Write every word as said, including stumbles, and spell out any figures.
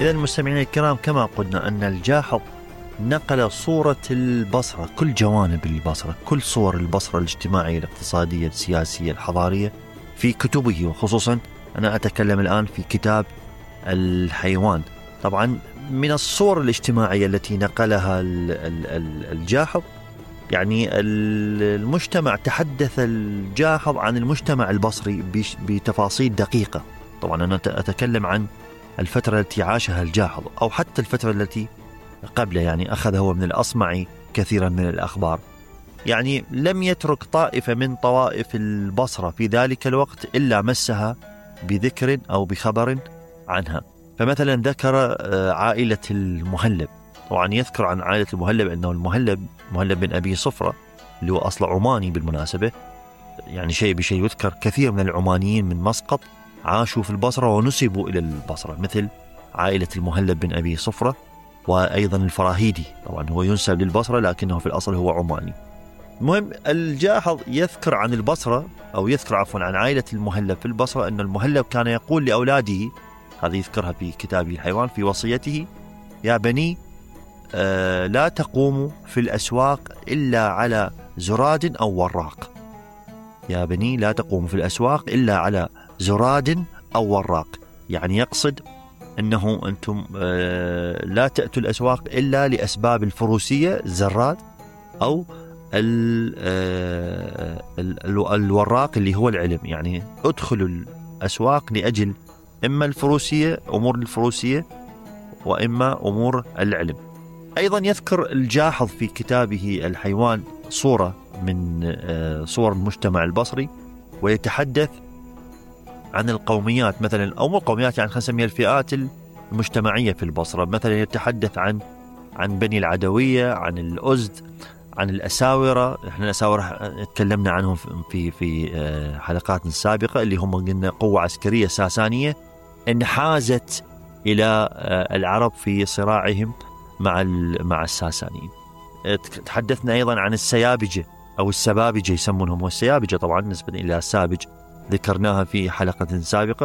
إذا المستمعين الكرام، كما قلنا أن الجاحظ نقل صورة البصرة، كل جوانب البصرة، كل صور البصرة الاجتماعية الاقتصادية السياسية الحضارية في كتبه، وخصوصا أنا أتكلم الآن في كتاب الحيوان. طبعا من الصور الاجتماعية التي نقلها الجاحظ، يعني المجتمع، تحدث الجاحظ عن المجتمع البصري بتفاصيل دقيقة. طبعا أنا أتكلم عن الفترة التي عاشها الجاحظ أو حتى الفترة التي قبله، يعني أخذ هو من الأصمعي كثيرا من الأخبار، يعني لم يترك طائفة من طوائف البصرة في ذلك الوقت إلا مسها بذكر أو بخبر عنها. فمثلا ذكر عائلة المهلب، طبعا يذكر عن عائلة المهلب أنه المهلب مهلب بن أبي صفرة اللي هو أصل عماني بالمناسبة، يعني شيء بشيء يذكر كثير من العمانيين من مسقط عاشوا في البصرة ونسبوا إلى البصرة، مثل عائلة المهلب بن أبي صفرة، وأيضا الفراهيدي طبعا هو ينسب للبصرة لكنه في الأصل هو عماني. المهم الجاحظ يذكر عن البصرة، أو يذكر عفوا عن عائلة المهلب في البصرة، أن المهلب كان يقول لأولاده، هذه يذكرها في كتابه الحيوان في وصيته: يا بني آه لا تقوموا في الأسواق إلا على زراد أو وراق. يا بني لا تقوموا في الأسواق إلا على زراد أو وراق، يعني يقصد أنه أنتم آه لا تأتوا الأسواق إلا لأسباب الفروسية، زراد، أو آه الوراق اللي هو العلم، يعني ادخلوا الأسواق لأجل إما الفروسية، أمور الفروسية، وإما أمور العلم. أيضا يذكر الجاحظ في كتابه الحيوان صورة من صور المجتمع البصري، ويتحدث عن القوميات مثلا، أو مو قوميات، يعني خلينا نسميها الفئات المجتمعية في البصرة. مثلا يتحدث عن عن بني العدوية، عن الأزد، عن الأساورة. احنا الأساورة تكلمنا عنهم في في حلقات سابقة، اللي هم قلنا قوة عسكرية ساسانية انحازت إلى العرب في صراعهم مع مع الساسانيين. تحدثنا أيضا عن السيابجة أو السبابجة يسمونهم، والسيابجة طبعا نسبة إلى السابج ذكرناها في حلقة سابقة.